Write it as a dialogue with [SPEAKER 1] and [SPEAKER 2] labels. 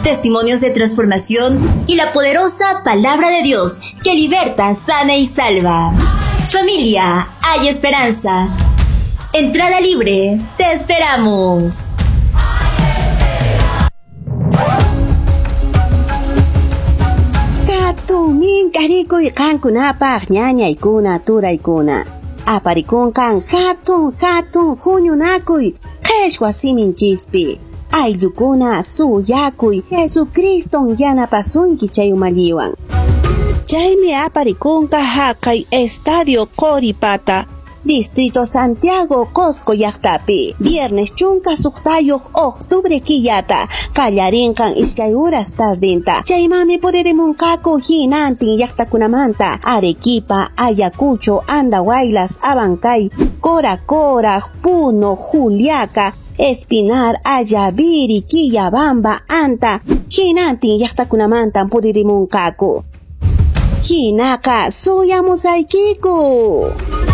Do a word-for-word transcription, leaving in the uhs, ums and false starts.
[SPEAKER 1] Testimonios de transformación y la poderosa palabra de Dios que liberta, sana y salva. Familia, hay esperanza. Entrada libre, te esperamos.
[SPEAKER 2] Hatun mink'arikuy qankunapaq ñañaykuna turaykuna. Aparikunqan hatun hatun huñunakuy qheshwa siminchispi. Ayllukuna suyakuy Jesucriston yanapasunki chay umalliwan.
[SPEAKER 3] Chaymi aparikunqa haqay Estadio Qoripata.
[SPEAKER 2] Distrito Santiago, Cosco llaqtapi. Viernes chunka suqtayuq octubre killata. Qallarinqan iskay uras tardinta. Chaymanmi puririmunqaku hinantin llaqtakunamanta. Arequipa, Ayacucho, Andahuaylas, Abancay, Cora Cora, Puno, Juliaca, Espinar, Ayaviri, Quillabamba, Anta. Hinantin llaqtakunamantan puririmunqaku. Hinaqa suyamusaykiku.